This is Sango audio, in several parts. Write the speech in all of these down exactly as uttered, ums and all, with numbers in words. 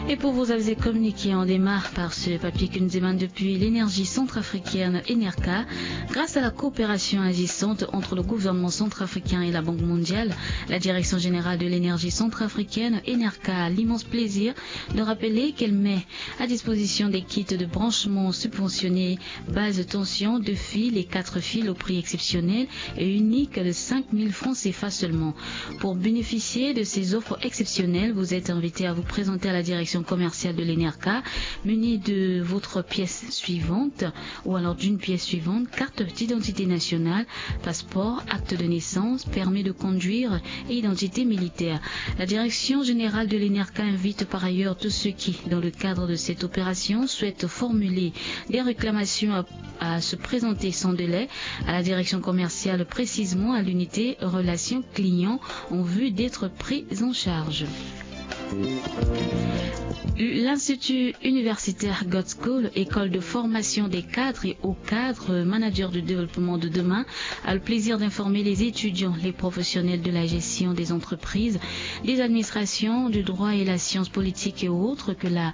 Et pour vous aviser communiqué, on démarre par ce papier que nous émane depuis l'énergie centrafricaine Enerca. Grâce à la coopération agissante entre le gouvernement centrafricain et la Banque mondiale, la Direction générale de l'énergie centrafricaine Enerca a l'immense plaisir de rappeler qu'elle met à disposition des kits de branchement subventionnés base tension, deux fils et quatre fils au prix exceptionnel et unique de cinq mille francs C F A seulement. Pour bénéficier de ces offres exceptionnelles, vous êtes invité à vous présenter à la direction commerciale de l'Enerca, muni de votre pièce suivante ou alors d'une pièce suivante, carte d'identité nationale, passeport, acte de naissance, permis de conduire et identité militaire. La direction générale de l'Enerca invite par ailleurs tous ceux qui, dans le cadre de cette opération, souhaitent formuler des réclamations à, à se présenter sans délai à la direction commerciale, précisément à l'unité relations clients, en vue d'être pris en charge. L'Institut universitaire God's School, école de formation des cadres et hauts cadres, managers de développement de demain, a le plaisir d'informer les étudiants, les professionnels de la gestion des entreprises, des administrations, du droit et la science politique et autres que la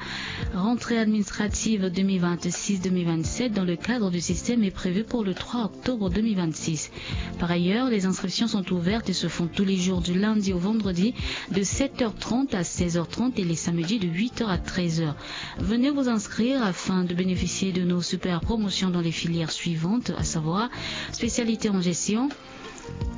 rentrée administrative deux mille vingt-six deux mille vingt-sept dans le cadre du système est prévue pour le trois octobre deux mille vingt-six. Par ailleurs, les inscriptions sont ouvertes et se font tous les jours du lundi au vendredi de sept heures trente à seize heures trente et les samedis de huit heures à treize heures. Venez vous inscrire afin de bénéficier de nos super promotions dans les filières suivantes, à savoir spécialité en gestion,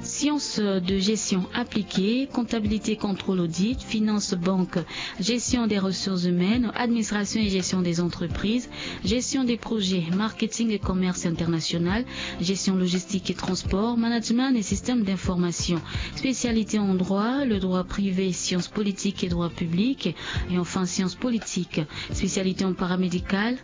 sciences de gestion appliquée, comptabilité, contrôle, audit, finance, banque, gestion des ressources humaines, administration et gestion des entreprises, gestion des projets, marketing et commerce international, gestion logistique et transport, management et système d'information. Spécialité en droit, le droit privé, sciences politiques et droit public, et enfin sciences politiques. Spécialité en paramédical,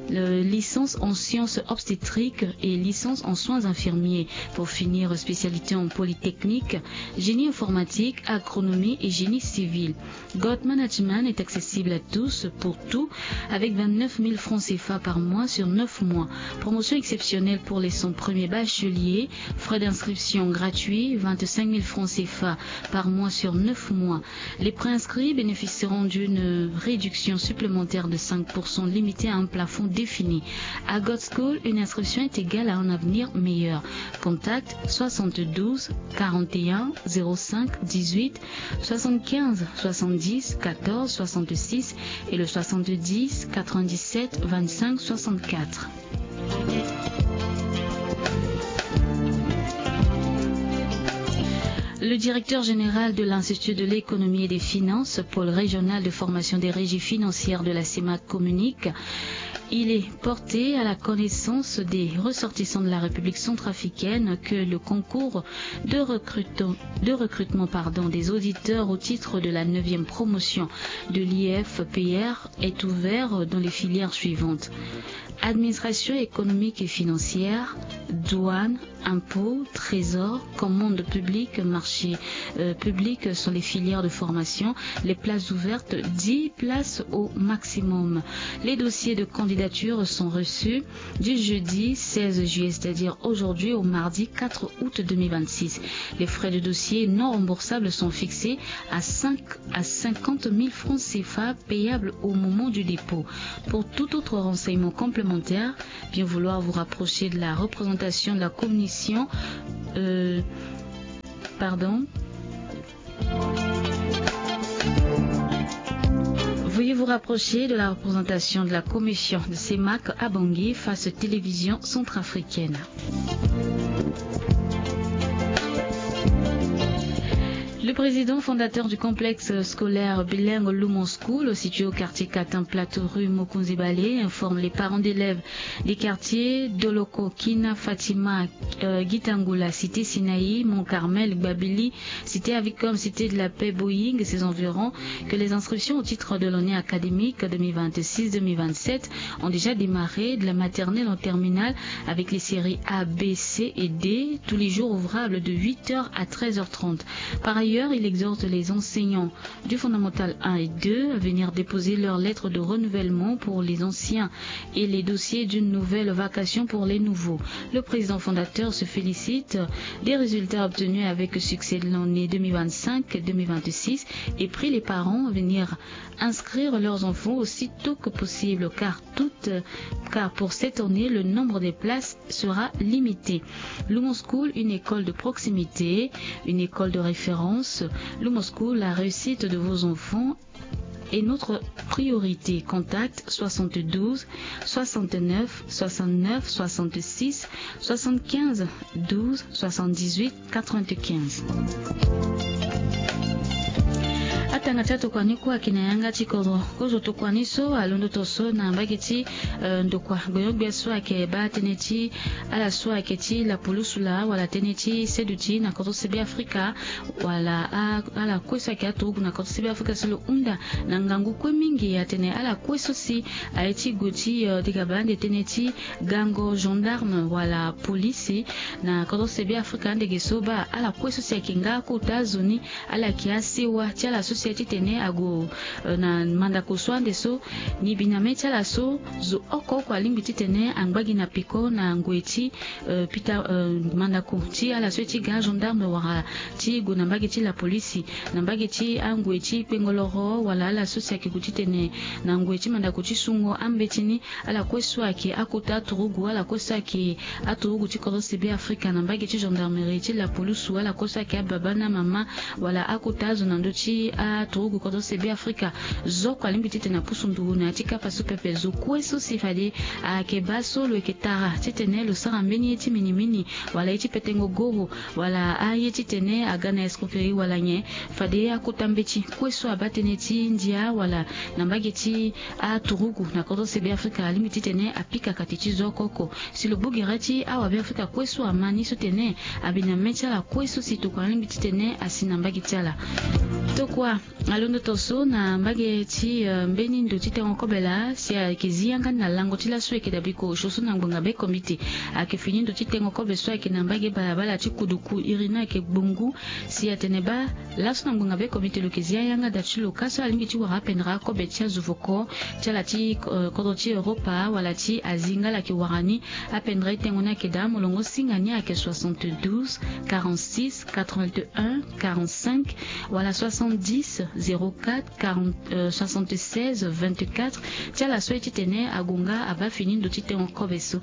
le- licence en sciences obstétriques et licence en soins infirmiers. Pour finir, spécialité en polytechnique, génie informatique, agronomie et génie civil. Gold Management est accessible à tous pour tout, avec vingt-neuf mille francs C F A par mois sur neuf mois. Promotion exceptionnelle pour les cent premiers bacheliers. Frais d'inscription gratuits, vingt-cinq mille francs C F A par mois sur neuf mois. Les préinscrits bénéficieront d'une réduction supplémentaire de cinq pour cent limitée à un plafond défini. À Gold School, une inscription est égale à un avenir meilleur. Contact soixante-douze quarante et un zéro cinq dix-huit, soixante-quinze soixante-dix quatorze soixante-six et le soixante-dix quatre-vingt-dix-sept vingt-cinq soixante-quatre. Le directeur général de l'Institut de l'économie et des finances, pôle régional de formation des régies financières de la CEMAC, communique: il est porté à la connaissance des ressortissants de la République centrafricaine que le concours de recrutement, de recrutement, pardon, des auditeurs au titre de la neuvième promotion de l'I F P R est ouvert dans les filières suivantes: administration économique et financière, douane, impôts, trésor, commandes publiques, marchés, euh, publics sont les filières de formation. Les places ouvertes, dix places au maximum. Les dossiers de candidature sont reçus du jeudi seize juillet, c'est-à-dire aujourd'hui, au mardi quatre août deux mille vingt-six. Les frais de dossier non remboursables sont fixés à cinq à cinquante mille francs C F A payables au moment du dépôt. Pour tout autre renseignement complémentaire, bien vouloir vous rapprocher de la représentation de la commission, euh, pardon. Veuillez vous rapprocher de la représentation de la commission de CEMAC à Bangui, face télévision centrafricaine. Le président fondateur du complexe scolaire bilingue Lumon School, situé au quartier Katin Plateau, rue Mokonzi Bale, informe les parents d'élèves des quartiers Doloko, Kina, Fatima, euh, Gitangula, cité Sinaï, Mont Carmel, Gbabili, cité Avicom, cité de la Paix, Boeing et ses environs, que les inscriptions au titre de l'année académique deux mille vingt-six deux mille vingt-sept ont déjà démarré, de la maternelle en terminale, avec les séries A, B, C et D, tous les jours ouvrables de huit heures à treize heures trente. Par ailleurs, D'ailleurs, il exhorte les enseignants du fondamental un et deux à venir déposer leur lettre de renouvellement pour les anciens et les dossiers d'une nouvelle vacation pour les nouveaux. Le président fondateur se félicite des résultats obtenus avec succès de l'année deux mille vingt-cinq deux mille vingt-six et prie les parents à venir inscrire leurs enfants aussitôt que possible, car toute, car pour cette année, le nombre des places sera limité. Lumon School, une école de proximité, une école de référence. Lumon School, la réussite de vos enfants est notre priorité. Contact soixante-douze soixante-neuf soixante-neuf soixante-six soixante-quinze douze soixante-dix-huit quatre-vingt-quinze. Atanga ti atokuani kue ayeke na yanga ti kodro. Kozo tokuani so alondo to so na mbage ti, eh, ndokua gbenyogbia so ayeke baa tënë ti ala so ayeke ti lapulusu laa wala tënë ti seduti na kodro se Be Afrika, wala a, ala kue so ayeke aturugu na kodro se Be Afrika si lo hunda na ngangu kue mingi atene ala kue so si aye ti gue ti, eh, dega baa ande tënë ti gango gendarme wala polisi na kodro se Be Afrika ande ge so baa ala kue so si ayeke nga akota azo ni, ala yeke asewa ti ala so si aye titene ague, eh, na mandako so ande so. Nibiname ti ala so zo oko oko alingbi titene angba gi na peko na ngoi ti, eh, pita, eh, mandako ti ala so ye ti ga agendarme wala ti gue na mbage ti lapolisi, na mbage ti angoi ti kpengoloro wala ala so si ayeke gue titene na ngoi ti mandako ti sungo ambeti ni. Ala kue so ayeke akota aturugu, ala kue so ayeke aturugu ti kodro se Be Afrika na mbage ti gendarmerie ti lapulusu, ala kue so ayeke ababa na mama wala akota azo na ndö ti aturugu kodro se Be Afrika. Zo oko alingbi titene apusu nduru na ya ti kapa so pepe. Zo kue so si fade ayeke baa so lo yeke tara titene lo sara mbeni ye ti minimini wala ye ti petengo goro wala aye titene aga na escroquerie wala nyen, fade akota mbeti kue so abaa tënë ti ndia wala na mbage ti aturugu na kodro se Be Afrika alingbi titene apika kati ti zo oko oko. Si lo gbu gere ti awa Be Afrika kue so ama ni so tene abiname ti ala kue so si tokua alingbi titene asi na mbage ti ala. Tokua alondo to so na mbage ti, eh, mbeni ndo ti tengo kobe laa si ayeke zi yanga ni na lango ti laso ayeke dabiko osio so na ngbonga be komite. Ayeke fini ndo ti tengo kobe so ayeke na mbage balabala ti kuduku iri ni ayeke gbongu. Si atene baa laso na ngbonga be komite lo yeke zi ayanga da ti lo ka so alingbi ti wara apendre akobe ti azo voko ti ala ti, eh, kodro ti Europa wala ti Asie nga ala yeke wara ni. Apendre tengo ni ayeke daa molongo singa ni ayeke soixante-douze quarante-six quatre-vingt-un quarante-cinq wala soixante-dix zéro quatre quarante, euh, soixante-seize vingt-quatre. Ti ala so aye titene ague nga abaa fini ndo ti tengo kobe so.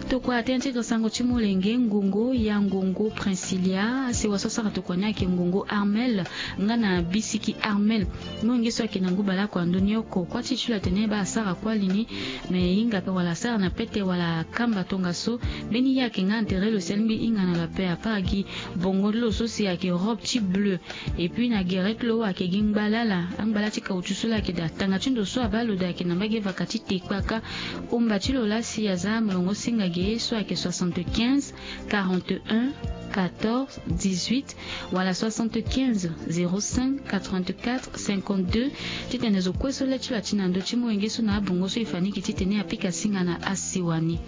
Tokua tënë ti gre sango ti molenge ngongo ya ngongo Princilia, asewa so asara tokua ni ayeke ngongo Armel nga na bisiki Armel. Molenge so ayeke na ngu baleoko ando ni oko. Kuâ ti e ti lo atene baa asara kuâ li ni, me e hinga ape wala asara na pete wala akamba tongaso. Mbeni ye ayeke nga na tere lo si alingbi hinga na lo ape, apara gi bongo ti lo so si ayeke robe ti bleu. Et puis na gere ti lo ayeke gi ngbala ala, angbala ti caoutchouc so laa ayeke daa. Tanga ti ndo so abaa lo daa ayeke na mbage vaka ti te kpaka. Omba ti lo laa si aza molongo singa ge so ayeke soixante-quinze quarante-un quatorze dix-huit wala soixante-quinze zéro cinq quatre-vingt-quatre cinquante-deux. Titene zo kue so le ti lo ati na ndö ti molenge so na abongo so e fa ni gi titene apika singa na asewa ni.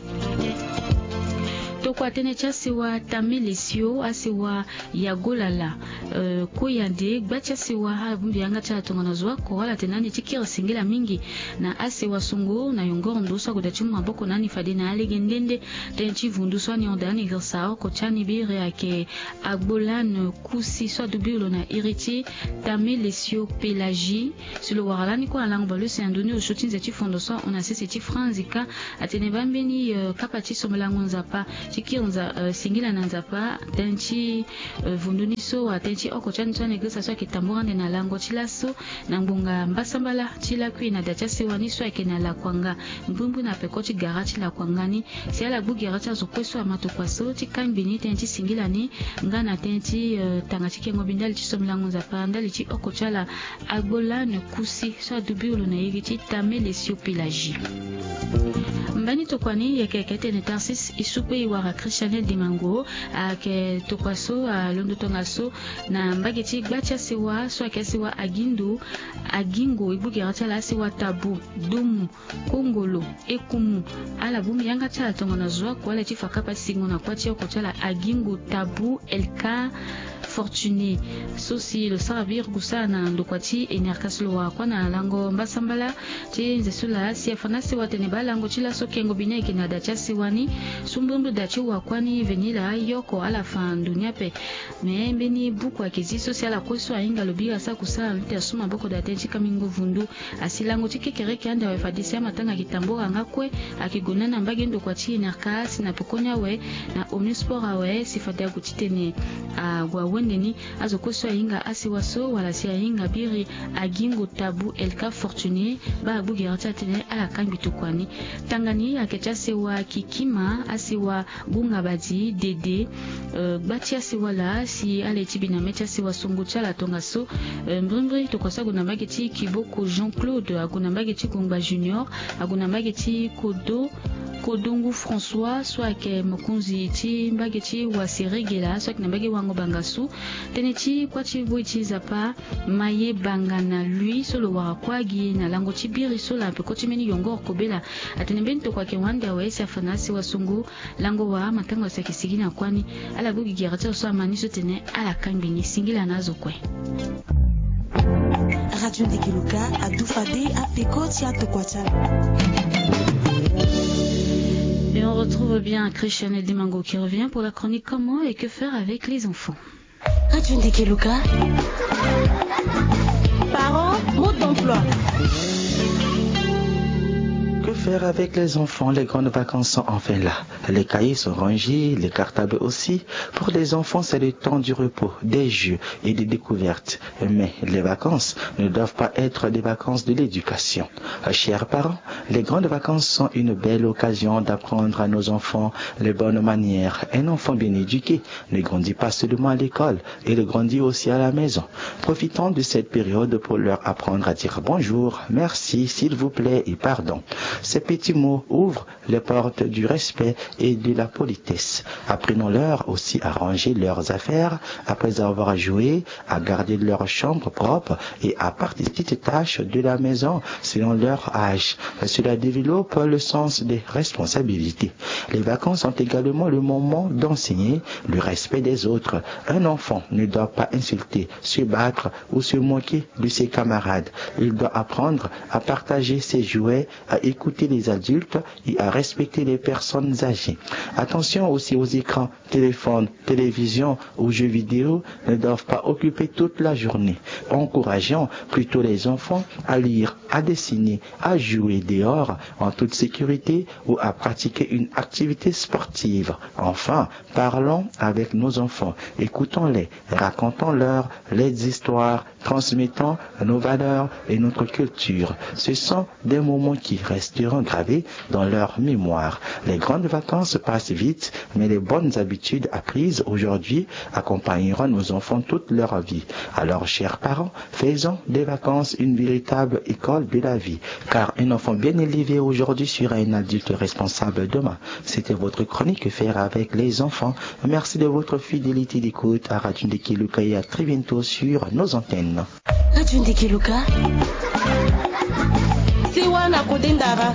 Tokua tënë ti asewa Tame Lesio, asewa Yago Lala, euh, Koyande, gba ti asewa ala bongbi yanga ti ala tongana zo oko, ala tene ande ti kiri singila mingi na asewa songo na yongoro ndo so ague daa ti mu maboko na ni fade na alege nde nde. Tënë ti vundu so ani hon daa ni girisa oko ti ani biri ayeke Agbolane Kusi so adubi lo na iri ti Tame Lesio Pelagie. Si lo wara lani kue na lango baleuse na ndoni osio ti nze ti fondo so ahon na sese ti franzi ka. Atene baa mbeni, euh, kapa ti sombelango Nzapa ti kiri nza, euh, singila na Nzapa. Tënë ti, euh, vundu ni so wala tënë ti oko ti ani so ani girisa so ayeke tambura ande na lango ti laso na ngbonga mbasambala ti lakui na da ti asewa ni so ayeke na Lakuanga, mbrimbri na peko ti gara ti Lakuanga ni. Si ala gbu gere ti azo kue so ama tokua so ti kangbi ni tënë ti singila ni nga na tënë ti, euh, tanga ti kengo mbi ndali ti sombelango Nzapa ndali ti oko ti ala Agbolane Kusi so adubi lo na iri ti Tame Lesio Pelagie. Mbani tokua ni yeke yeke tene Tarsis e su kpe e wara Christiane Dimango, ayeke tokua so alondo tongaso na mbage ti gba ti asewa so ayeke asewa Agindu, Agingo, e gbu gere ti ala asewa Tabu, Domu, Kongolo, Ekumu. Ala bongbi yanga ti ala tongana zo oko, ala ye ti fa kapa ti singo na kuâ ti oko ti ala Agingo, Tabu, Elka, Fortuné so si lo sara biri kusala na ndokua ti enerka so lo wara kua na lango mbasambala ti nze so laa si afa na asewa atene baa lango ti laso kengo bini ayeke na da ti asewa ni. So mbrimbri da ti wa kua ni veni laa ayoko ala fa ndo ni ape. Me mbeni buku ayeke zi so si ala kue so ahinga lo biri asara kusala lo ti asu maboko da tënë ti kamingo vundu. Asi lango ti kekereke ande awe fade si amatanga ayeke tambora nga kue. Ayeke gue na na mbage ndokua ti enerka si na pekoni awe na omnisport awe si fade ague titene ague awende ni. Azo kue so ahinga asewa so wala si ahinga biri agingo tabu elka fortuné baa agbu gere ti atene ala kangbi tokua ni. Tanga ni ayeke ti asewa kikima asewa gunga badi dede. Gba ti asewa laa si ala ye ti bi na me ti asewa songo ti ala tongaso. Mbrimbri tokua so ague na mbage ti kiboko jean claude ague na mbage ti gongba junior ague na mbage ti kodo kodongu françois so ayeke mokonzi ti mbage ti waseregela so ayeke na mbage wango bangasu. Tënë ti kuâ ti voi ti zapa maye banga na lui so lo wara kuâ gi na lango ti biri so laa peko ti mbeni yongoro kobela. Atene mbeni tokua ayeke wande awe si afa na asewa songo. Lango wa amatanga so ayeke sigi na kuâ ni. Ala gue gi gere ti azo so ama ni so tene ala kangbi ni singila na azo kue. Radio Ndeke Luka adufa de apeko ti atokua ti ala. Et on retrouve bien Christiane Dimango qui revient pour la chronique comment et que faire avec les enfants. Radio Ndeke Luka. Parents, mode d'emploi. Que faire avec les enfants? Les grandes vacances sont enfin là. Les cahiers sont rangés, les cartables aussi. Pour les enfants, c'est le temps du repos, des jeux et des découvertes. Mais les vacances ne doivent pas être des vacances de l'éducation. Chers parents, les grandes vacances sont une belle occasion d'apprendre à nos enfants les bonnes manières. Un enfant bien éduqué ne grandit pas seulement à l'école, il grandit aussi à la maison. Profitons de cette période pour leur apprendre à dire bonjour, merci, s'il vous plaît et pardon. Ces petits mots ouvrent les portes du respect et de la politesse. Apprenons-leur aussi à ranger leurs affaires après avoir joué, à garder leur chambre propre et à participer aux tâches de la maison selon leur âge. Cela développe le sens des responsabilités. Les vacances sont également le moment d'enseigner le respect des autres. Un enfant ne doit pas insulter, se battre ou se moquer de ses camarades. Il doit apprendre à partager ses jouets, à écouter les adultes et à respecter les personnes âgées. Attention aussi aux écrans, téléphones, télévisions ou jeux vidéo ne doivent pas occuper toute la journée. Encourageons plutôt les enfants à lire, à dessiner, à jouer dehors en toute sécurité ou à pratiquer une activité sportive. Enfin, parlons avec nos enfants, écoutons-les, racontons-leur les histoires, transmettons nos valeurs et notre culture. Ce sont des moments qui resteront gravés dans leur mémoire. Les grandes vacances passent vite, mais les bonnes habitudes apprises aujourd'hui accompagneront nos enfants toute leur vie. Alors, chers parents, faisons des vacances une véritable école de la vie, car un enfant bien élevé aujourd'hui sera un adulte responsable demain. C'était votre chronique Que faire avec les enfants. Merci de votre fidélité d'écoute à Radio Ndeke Luka et à très bientôt sur nos antennes. Radio Ndeke Luka. Sewa na kode ndara.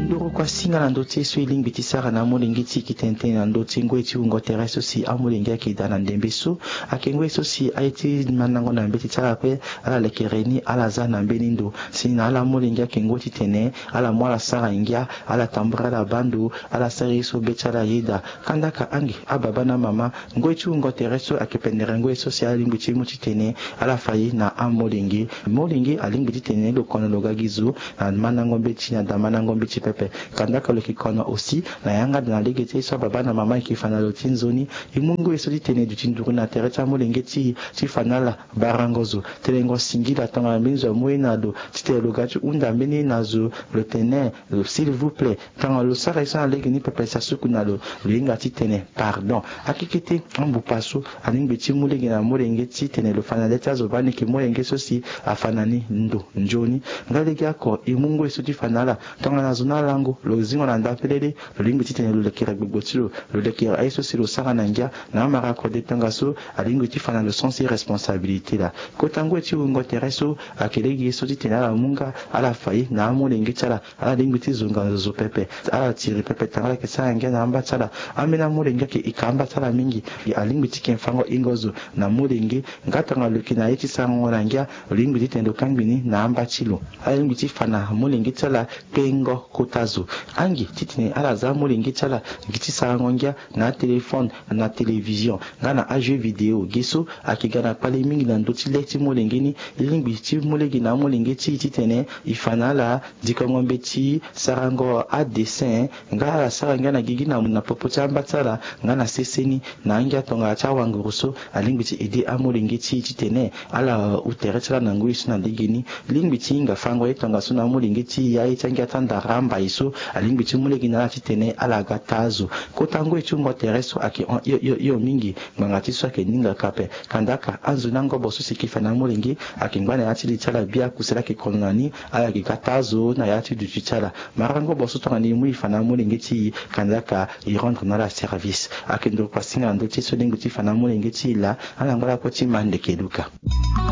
Nduru kua singa na ndö ti e so e lingbi ti sara na amolenge ti e, e ke tene tënë na ndö ti ngoi ti wungo tere so si amolenge ayeke daa na ndembe so. Ayeke ngoi so si aye ti mandango na mbeti ti ala kue. Ala lekere ni ala za na mbeni ndo si na ala molenge ayeke ngoi titene ala mu ala sara ngia, ala tambula ala baa ndo, ala sara ye so be ti ala ayeda. Kandaka ange ababa na amama, ngoi ti wungo tere so ayeke pendere ngoi so si ala lingbi ti mu titene ala fa ye na amolenge. Molenge alingbi titene lo kono lo ga gi zo na mandango mbeti na daa mandango mbeti pepe. Kandaka lo yeke kono aussi na yanga daa na lege ti ye so ababa na amama ayeke fa na lo ti nzoni. E mu ngoi so titene duti nduru na tere ti amolenge ti e ti fa na ala barango zo, telengo singila tongana mbeni zo amu ye na lo, titene lo ga ti hunda mbeni na zo, lo tene, s'il vous plaît. Tongana lo sara ye so na lege ni pepe si asuku na lo, lo hinga titene pardon. Akekete, ambupa so alingbi ti mu lege na molenge titene lo fa na le ti azo baa ni yeke molenge so si afa na ni ndo nzoni. Nga lege oko e mu ngoi so ti fa na ala tongana zo na alango Lo zingo na ndapelele, lo lingbi titene lo lekere gbogbo ti lo, lo lekere aye so si lo sara na ngia. Na amara kode tongaso alingbi ti fa na lo sens ti responsabilité laa. Kota ngoi ti wungo tere so ayeke lege so titene ala mu nga ala fa ye na amolenge ti ala. Ala lingbi ti zonga nzozo pepe. Ala tiri pepe tanga ala yeke sara ngia na amba ti ala. Ambeni amolenge ayeke ika amba ti ala mingi. Alingbi ti yeke fango hingo zo na molenge. Nga tongana lo yeke na ye ti sarango na ngia, lo lingbi titene lo kangbi ni na amba ti lo. Ala lingbi ti fa na molenge ti ala kpengo kota zo. Angi titene ala za amolenge ti ala gi ti sarango ngia na atelefone, na télévision, nga na ajeu vidéo. Gi so ayeke ga na kpale mingi na ndö ti le ti molenge ni. E lingbi ti mu lege na amolenge ti e titene e fa na ala dikongo mbeti, sarango adessin, nga ala sara ngia na gigi na, na popo ti amba ti ala, nga na sese ni. Na angia tongana ti awanguru so alingbi ti aidé amolenge ti e titene ala, uh, hu tere ti ala na ngoi so na lege ni. Lingbi ti hinga fango ye tongaso na amolenge ti e, aye ti angia ti andara ambai so alingbi ti mu lege na ala titene ala ga taa zo. Kota ngoi ti wungo tere so ayeke hon hio hio hio mingi. Ngbanga ti so ayeke ningaka ape. Kandaka anzoni angobo so si eke fa na amolenge ayeke ngba na ya ti li ti ala bia, kusala ayeke kono na ni. Ala yeke ga taa zo na ya ti duti ti ala. Mara ngobo so tongana e mu e fa na amolenge ti e, kandaka e rendre na ala service. Ayeke ndokua singa na ndö ti so lingbi ti fa na amolenge ti e laa. Ala ngba lakue ti ma ndeke luka.